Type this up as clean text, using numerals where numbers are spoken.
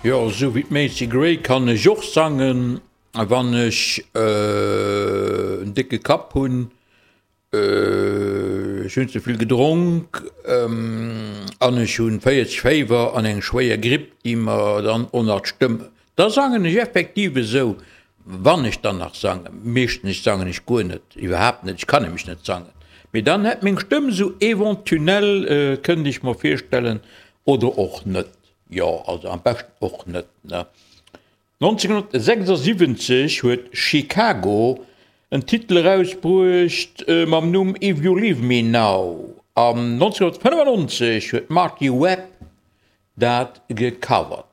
Jo, esou wéi d'Macy Gray kann ech och sangen, wann ech en décke Kapp hunn, ech hunn ze vill gedronk an ech hunn 40 Féiwer an eng schwéier Gripp, déi mer dann och nach d'Stëmm. Da sangen ech effektiv esou, wann ech dann nach sangen. Meeschtens sangen ech guer net, iwwerhaapt net, ech kann nämlech net sangen. Mee dann hätt meng Stëmm esou eventunell, kënnt ech mer virstellen, oder och net. Jo, also am beschten och net, ne? 1976 huet Chicago en Titel erausbruecht mam Numm If You Leave Me Now an 1995 huet d'Marti Webb dat gecovert.